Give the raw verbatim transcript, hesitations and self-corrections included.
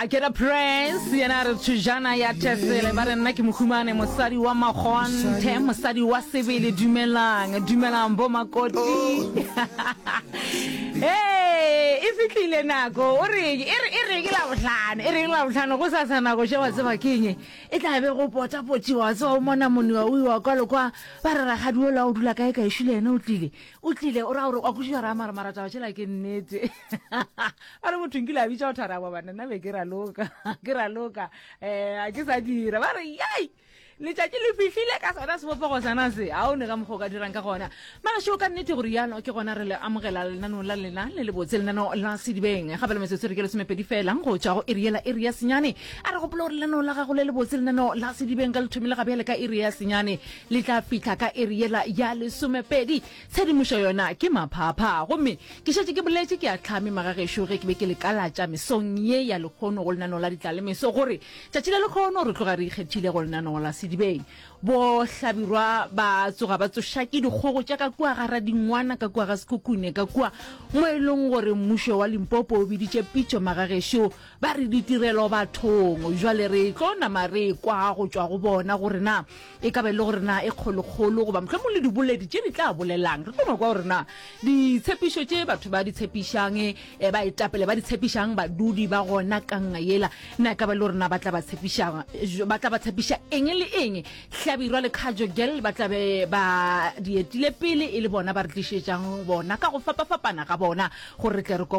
Ke re Prince yena a re thujana ya Thesele ba re nna ke mohumane mosadi wa makgonthe mosadi wa sebele dumelang dumelang bo makoti Hey, e fihlile nako o re e re e re ke la bohlano e re ke la bohlano go sasa nako še wa tseba keng e tla be go pota potiwa wa tseba o mona moniwa o iwa kwa le kwa ba re rakgadi ola o dula kae kae šule yena o tlile o tlile o ra gore wa kwešiša ra mara mara taba tšela ke nnete ba re motho nkile a bitša go thara bana nna be ke raloka ke raloka um a ke sa dira ba re yai letšatši le fihlile ka sona sebopego sana se a o ne ka mokgwa o ka dirang ka gona magašo ka nnete gore yalo ke gona re le amogela lenaneo la lena le le botse lenaneo la sedibeng gape le metsotso re ke lesomepedi fela go tšwa go iri yela iri ya senyane a re gopola gore lenaneo la gago le le botse lenaneo la sedibeng ka le thomile ga bjale ka iri ya senyane le tla fihla ka iri yela ya lesomepedi tshedimošo yona ke maphapha gomme ke šetše ke boletše ke a tlhame magagešo ge ke be ke le kalatša mesong ye ya lekgono go lenaneo la ditlalemeso gore tšatši la lekgono re tloga re ikgethile go lenaneo la sedibeng bo hlabirwa ba tsoga ba tsoša ke dikgogo tša ka kua ga radingwana ka kua ga sekhukhune ka kua mo e leng gore mmušo wa limpopo o biditše pitšo magagešo ba re ditirelo bathong jwale re tlo nama re kwa go tšwa go bona gore na e ka ba e le gore na e kgolokgolo goba mohlomong le diboledi tše di tla bolelang re tlo no kwa gore na ditshepišo tše batho ba di tshepišang eh, ba etapele ba di tshepišang badudi ba gona kanga yela na e ka ba e le gore na ba tla ba tshepišang ba tla ba tshepiša eng le eng hlabirwa le khajo gel ba tla be ba di etile pele e le bona ba re tlišetšang bona ka go fapafapana ga bona gore re tle re ko